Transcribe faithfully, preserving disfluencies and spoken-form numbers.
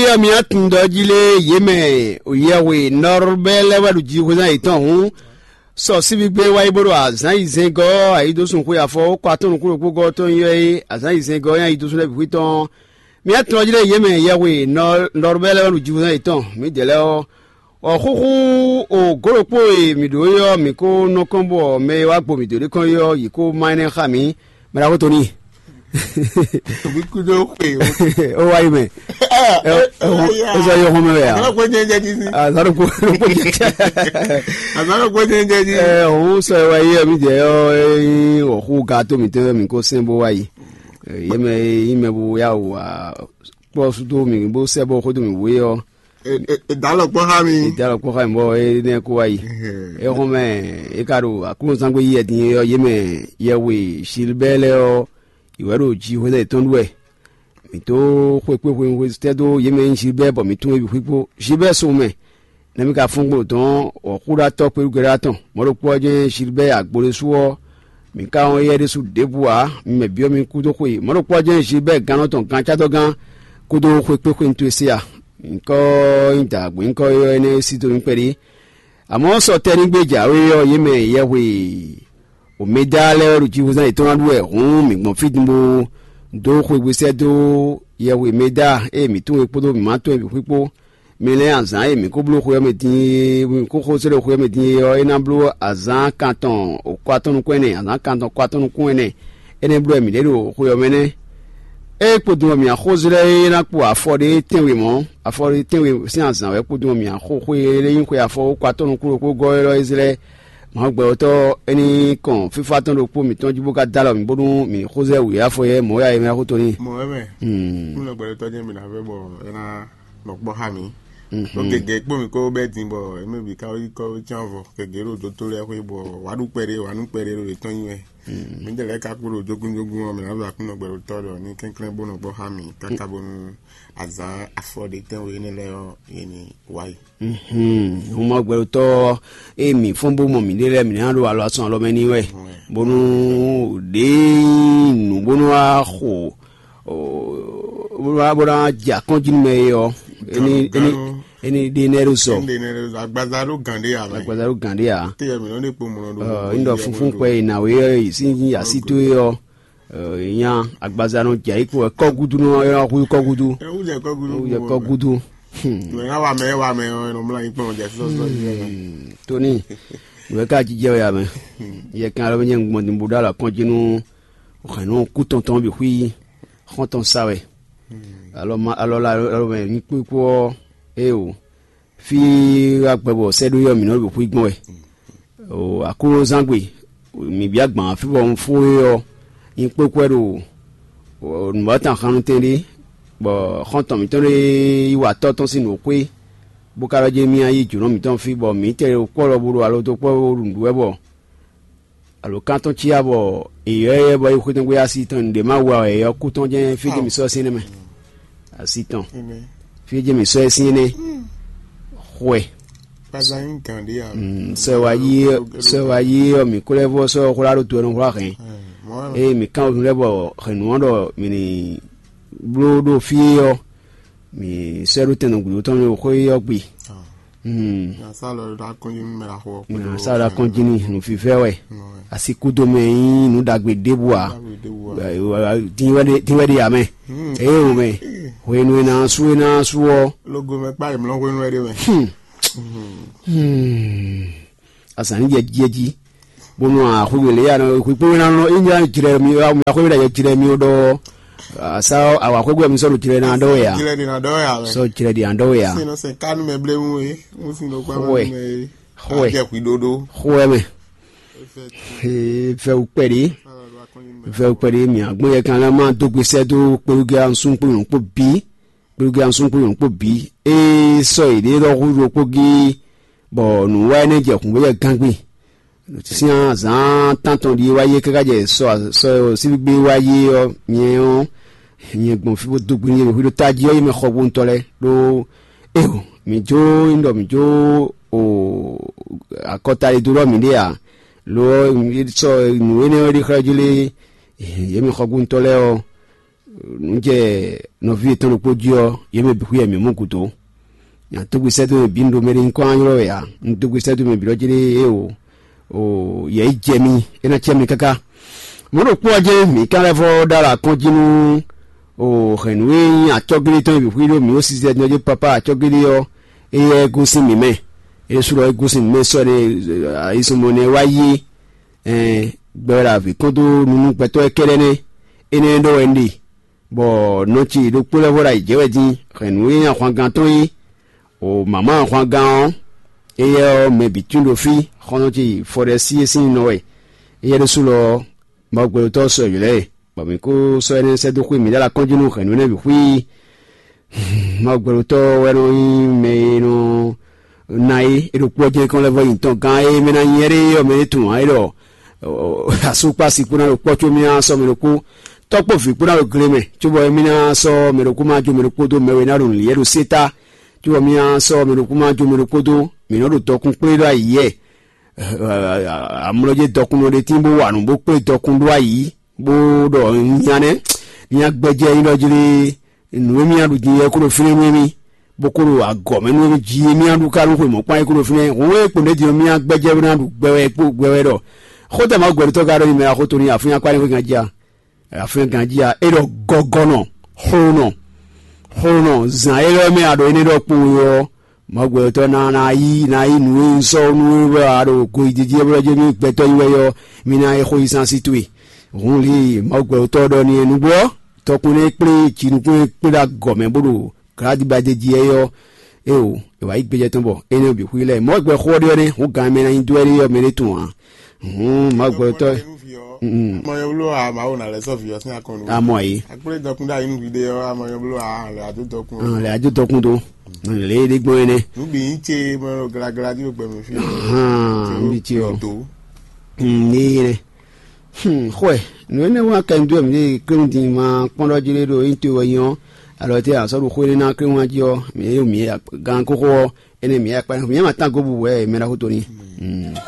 Ɔ́, mi atundɔ jí lé yě mɛ yɛhwe nɔrubɛ lɛ́ wɛ ɖo jihwezán yětɔn hǔn, sɔ síbígbé wá yi bó ɖo azǎn yi zɛngɔ́ ayidosúnxwe afɔ ó kɔ atɔ́ nukúnɖokpógɔ́ tɔn ylɔ́ é azǎn yi zɛngɔ́ nyi ayidosún lɛ́ɛ bǐ xwítɔn. Mi atundɔ jí lé yě mɛ yɛhwe nɔrubɛ lɛ́ wɛ ɖo jihwezán yětɔn, mǐdɛɛ lɛ́ɛ ɔ́, ɔ̌ xúxú o gǒ ɖokpó e mǐ ɖǒ é ɔ́, mǐ ko nɔ kɔn bɔ mɛ e wá gbo mǐ dó ɖé kɔn é ɔ́, yě ko má énɛ́ xá mǐ. Mɛ ɖaxó Toni. Mǐ kúdó xwe o. Ó wá yi mɛ. Ó sɔ yɔ xɔmɛ wɛ ya. Azalo ko ko jẹ. Azalo ko jẹ jẹ ji. Ɛ òun sɔ wá yi mi jẹ yɔ. Ɔ xú ga tó mi tɛ mi ko sɛn bó wá yi. Yé mɛ yé mɛ bó yá wò wá kpɔ súdó mi bó sɛ bó xódó mi wé ɔ. Ìdálọ́pọ̀ há mi. Ìdálọ́pọ̀ há mi bɔ é nɛ kó wá yi. É xɔn mɛ é ka ɖo aklúnɔzán gbé yi ɛdín ɔ́ yé mɛ yɛwe Gilbert lɛ́ɛ ɔ́, ìwɛ ɖo jihwézɛ́ yětɔn ɖu wɛ. Mǐ tó xwekpé hwenu tɛ́ dó yě mɛ nyí Gilbert bɔ mǐ tún é bǐ xwíkpó. Gilbert so mɛ, nɛ̌ mì ka fɔ́n gbo dɔn wɔ̌xúɖatɔ́ kpéɖugbɛ́ɖá tɔn. Mɔ̌ ɖokpó ɔ́ jɛ́n Gilbert Agbodésú ɔ́, mǐ ka wɔn éyɛ́ ɖésú ɖěbǔ ǎ. Mi mɛ byɔ́ mi kúdó xwe. Mɔ̌ ɖokpó ɔ́ jɛ́n Gilbert gannɔ tɔn gancátɔ́gán kódó xwekpéxwenu towe se a? Nyǐkɔ nyí dǎgbé nyǐkɔ ɔ́ énɛ́ e sí dó mì kpɛɖé. Àmọ́ sɔ tɛ́ ní gbé jǎwe ɔ́, yě mɛ yɛhwe Omeda lɛ́ɛ wɛ ɖo jihwezán yětɔn ná ɖu wɛ hǔn mǐ gbɔn fí din bó dó xwegbe sɛ́ dó yɛhwe Meda e mǐ tunwun é kpódó mǐ ma tunwun é bǐ xwíkpó. Mi lɛ́n azǎn e mǐ ko bló xwe ɔ́ mɛ din e mǐ ko xo sɛ́ ɖo xwe ɔ́ mɛ din é ɔ́, é ná bló azǎn kantɔn kɔ atɔ́ nukún ɛnɛ, azǎn kantɔn kɔ atɔ́ nukún ɛnɛ. Énɛ́ bló wɛ mǐ ɖe ɖo xwe ɔ́ mɛ nɛ́. Ée kpodun ɔ́ mǐ axó zlɛ́ é ná kpo afɔ ɖé tɛ́nwe mɔ̌, afɔ ɖé tɛ́nwe sín azǎn wɛ kpodun ɔ́ mǐ axó xwe e nyí xwe afɔ kó atɔ́ nukún ɖokpó gɔ́ élɔ́ é zlɛ́. Mɔ̌ gbɛtɔ́ é ní kɔn fífá tɔn ɖokpó mǐtɔn jí bó ka dó alɔ mǐ bónú mǐ ní xó zɛ wǔ afɔ yɛ mɔ̌ ya é mɛ xó tɔn ní. Mɔ̌ wɛ mɛ. Kúnlẹ̀ gbɛtɔ́ jẹ́ mi nǎ fẹ́ bɔ é ná nɔ kpɔ́ xá mi. Ɖó gěgé kpó mi kó bɛ́ din bɔ émí bǐ ká yi kɔ cyán vɔ gěgé ɖo dótó lɛ́ɛ xwé bɔ wǎ ɖu kpɛɖé wǎ nú kpɛɖé ɖo yětɔn nyi wɛ. Mǐdɛɛ lɛ́ɛ ka kpó ɖo jógúnjógún ɔ́, mǐ ná zɔ Aklúnɔ gbɛɖotɔ́ ɖɔ ní kɛnklɛ́n bó nɔ gbɔ xá mǐ káká bónú azǎn afɔ ɖé tɛ́nwe énɛ́ lɛ́ɛ ɔ́, yě ní wá yi. Huma gbɛɖotɔ́ e mǐ fɔ́n bó mɔ mǐɖée lɛ́ɛ, mǐ ná ɖo alɔ asɔn alɔ mɛ n'i wɛ, bónú ɖě nyí nǔ bónú wá xo bónú wá bó ná jɛ akɔ́njínú mɛ é ɔ́, é ní é ní é ní ɖe nɛ́ ɖó sɔ. Agbaza ɖó gǎn ɖé ǎ mɛ. Agbaza ɖó gǎn ɖé ǎ. Teyɛ mǐ nɔ ɖe kpo mlɔ ɖo. Ɔ, ŋɖɔ funfun kpɛ yi na wé ɔ́ yi sín yí así towe ɔ́, ɔ, nya agbaza nɔ dza yi kpo kɔ gudu nɔ ɔyɔ hu kɔ gudu. Ewu jɛ kɔ gudu. Ewu jɛ kɔ gudu. Mɛ na wa mɛ wa mɛ ɔ nɔ mla yi kpɔn jɛ sɔsɔ yi. Toni, wɛ ka jijɛ wɛ ya mɛ. Yɛ kan alɔ nyɛ gbɔn din bo ɖo alɔ kɔn jinu hɛn nɔ ku tɔntɔn bi hui xɔntɔn sa wɛ. Alɔ ma alɔ la alɔ mɛ nyi kpó kpó ɔ. Eo. Fí wá gbɛ bɔ sɛ́ɖó yɔ mǐ nɔ ɖo xwí gbɔn wɛ. O aklúnɔzán gbe, mǐ bia gbǎn fí bɔ un fó é ɔ́, nyí kpékwɛ́ ɖo nǔbátan xannutɛn ɖé, bɔ xɔ́ntɔn mǐtɔn ɖé yi wa tɔ́ tɔn sín nǔxwé, bó ka ɖɔ jɛ́n mì yi jǒnɔ mǐtɔn fí, bɔ mǐ tɛ ɖo kpɔ́ lɔ bó ɖo alo dó kpɔ́ bó ɖo nǔɖuɖu wɛ bɔ alo kan tɔn cia bɔ èyɔ yɛ bɔ yi xwetɔn gbé asi tɔn ɖě ma wa èyɔ kú tɔn jɛ́n fí jɛ́n mǐ sɔ́ sín nɛ́ mɛ. Asi tɔn fí jɛ́n mǐ sɔ́ ɛ sín nɛ́. Xwɛ. Sɛ wa yi sɛ wa yi ɔ mǐ kó lɛ́ vɔ sɔ xwlá ɖó to ɛnu xwlá hɛn. Eye mǐ kán wezun lɛ́ bɔ hɛn nǔ ɔ́ ɖɔ mǐ ní bló ɖo fí ɔ́, mǐ sɔ́ ɛ ɖó tɛn nɔ gǔdo tɔn mɛ xó ɔ́ gbe. Nǎ sa ɖo akɔn jí n'i nǔfífɛ́ wɛ. Asi kúdo mɛ nyí nǔ ɖagbe ɖěbǔ ǎ. Dín wɛ ɖe ǎ mɛ. Eye wò mɛ hwenu e ná sú e ná sú ɔ́. Logo mɛ kpá yě mlɔ́ hwenu wɛ ɖe mɛ. Azǎn ní jɛ jí bónú axwé lě ya nɔ xwé kpé wéná nɔ é nyá jlɛ mi axwé wéná jɛ jlɛ mi ɖɔ asa awa xwé gbɛ mi sɔ́ ɖo jlɛ ná ɖɔ wɛ ya. Jlɛ ɖe ná ɖɔ wɛ ya mɛ. Sɔ jlɛ ɖe ná ɖɔ wɛ ya. Sinɔ sɛ kanu mɛ blé mu e mu sin ɖo kpá Xwɛ. Mɛ e. Xwɛ. Ajɛ xwi ɖoɖo. Xwɛ mɛ. Fɛ wukpɛ ɖe. Fɛ wukpɛ ɖe mi agbɔn yɛ kan lɛ ma dó gbèsè dó kpolugɛ ansún kpolun kpó bí. Kpolugɛ ansún kpolun kpó bí. E sɔ yi ɖe lɔ hu ɖo kpó gí. Bɔ nǔ wa énɛ́ jɛ hǔn bó jɛ gángbé. Sín azǎn tántɔn ɖíe wá yé káká jɛ sɔ sɔ síbígbé wá yé ɔ́ nyɛ ɔ́ nyɛ gbɔn fí bó dó gbe nú yě ɖo hwíɖó tají ɔ́ yé mɛ xɔgbóntɔ́ lɛ́ɛ ɖó eo mǐ jó nyí ɖɔ mǐ jó o akɔta e dó ɖɔ mǐ ɖe ǎ lo ɔ́ sɔ nǔ énɛ́ ɔ́ ɖi xlɛ́ jí lé yě mɛ xɔgbóntɔ́ lɛ́ɛ ɔ́ nǔ jɛ nɔví yětɔn ɖokpó jí ɔ́, yě mɛ bǐ xwíyɛ mǐ mɔ gǔdo. Nya tógbe sɛ́dó mɛ bǐ un ɖo mɛ ɖé nyí kɔn ylɔ́ wɛ ǎ. Un tógbe sɛ́dó mɛ bǐ ɖɔ jí ɖé é o, o yɛ yi jɛ mi, é ná cɛ mi káká. Mɔ̌ ɖokpó ɔ́ jɛ́n mǐ ka lɛ́ vɔ́ ɖó alɔ akɔ́n jí nú o hɛ̌nnu e nyí acɔ́gílí tɔn e bǐ xwí ɖó mǐ ó sizɛ din ɔ́ jí papá acɔ́gílí ɔ́, éyɛ́ gosín mǐ mɛ. É ɖésú ɖɔ é gosín mǐ mɛ sɔ́ nɛ́ ayisɔnmɔ nɛ́ wá yí é. Ɛn gbɛɖo avǐ kɔn dó nunú gbɛtɔ́ e kɛ́ɖɛ́ nɛ́. Énɛ́ ɖɔ wɛ un ɖe, bɔ nɔ ce ɖokpó lɛ́ɛ vɔ ɖo ayǐ jɛ wɛ din hɛ̌nnu e nyí ahwangán tɔn é. O mǎmá ahwangán ɔ́, éyɛ́ ɔ́, mɛ bǐ tín ɖo fí, xɔ́ntɔn ce yi fɔɖɛ́sí e sín nɔ wɛ. Éyɛ́ ɖésú lɔ ɔ́, Mawu gbɛɖotɔ́ ɔ́ sɔ́ yǒ lɛ́ɛ, bɔ mǐ kó sɔ́ énɛ́ sɛ́ dó xwé mǐɖée alɔ kɔn jí nú hɛ̌nnu énɛ́ bǐ xwí. Mawu gbɛɖotɔ́ ɔ́ wɛ nɔ nyí mɛ e nɔ ná é, é ɖo kpɔ́ jɛ́n kɔn lɛ́ vɔ nyi tɔn gán e mɛ ná nyí ɛ́ɖé ɔ́ mɛ é tunwun ǎ é ɖɔ asú kpó asi kpó ná ɖo kpɔ́ có mì ná sɔ́ mɛ ɖokpó, tɔ́ kpó vǐ kpó ná ɖo gle mɛ, cóbɔ mì ná sɔ́ mɛ ɖokpó ma jó mɛ ɖokpó dó mɛ we ná ɖo nǔ lǐɛ ɖo sétá, cóbɔ mì ná sɔ́ mɛ ɖokpó ma jó mɛ ɖokpó dó, mǐ nɔ ɖo dɔkun kplé ɖo ayǐ yɛ. Amlɔjé dɔkunnɔ ɖé tín bó wa nǔ bó kplé dɔkun ɖó ayǐ, bó ɖɔ nya nɛ́, nya gbɛjɛ nyí ɖɔ jí lé, nǔ e mì ná ɖu din é kó ɖo fínɛ́ nú émí, bó kó ɖo agɔ̌ mɛ nú émí jí é mì ná ɖu ká nú xwe mɔ̌kpán é kó ɖo fínɛ́. Hǔn e kpo ɖě din ɔ́, mì ná gbɛjɛ bó ná ɖu gbɛ wɛ kpó gbɛ wɛ ɖɔ xó tɛ Mawu gbɛɖutɔ́ ka ɖɔ nyi mɛ axó to ní afúnyakpá ní xwé ganjí a? Afúnyagán jí a? É ɖɔ gɔgɔnɔ, xlonɔ, xlonɔ, zǎn élɔ́ mɛ a ɖo énɛ́ ɖɔ kpowun ɔ́, Mawu gbɛtɔ́ ná ná yí ná yí nǔ e un sɔ́ nú we wɛ a ɖo goyíjíjí e blɔ́ jɛ mì gbɛtɔ́ yi wɛ ɔ́, mi ná é xó yí sín así towe. Hǔn lě e Mawu gbɛtɔ́ ɖɔ n'i é nǔgbó ɔ́, tɔkun nɛ́ e kplé jinukún e kplé ɖo agɔ̌ mɛ bó ɖo glǎdibadé jí é ɔ́, é o, è wǎ yí gbéjɛ tɔn bɔ énɛ́ ɔ́ bǐ xwí lɛ́ɛ. Mawu gbɛ xó ɔ́ ɖe ɔ́ nɛ́, hǔn gan e mɛ ná nyi dó wɛ ɖe ɔ́, mɛ ɖé tunwun ǎ. Hǔn Mawu gbɛtɔ́. Mɔ yɛ wló a Mawu ná lɛ́ sɔ́ vǐ ɔ́ sín akɔn nú. Amɔ yìí. Akplé dɔkun ɖo ayinu vǐ ɖé ɔ́, amɔ yɛ wló a lɛ adó dɔkun. Lɛ adó dɔkun dó. Lě e ɖe gbɔn énɛ́. Nǔ bǐ nyí ce mɔ glagla dí gbɛ mɛ fí. Hàn bí ce ɔ. Ní yé nɛ. Xwɛ nǔ énɛ́ wá kɛ nú mǐ kléwún din ma kpɔ́n ɖɔ jí ɖé ɖo nyí towe wɛ nyí ɔ́, alɔ tɛ́ a sɔ́ ɖo xó énɛ́ ná kléwún jí ɔ́, mǐ yé mǐ gan kóxó ɔ́, énɛ́ mǐ yá kpá mǐ yá ma tán gǒ bu wɛ mɛ ɖaxó to ní.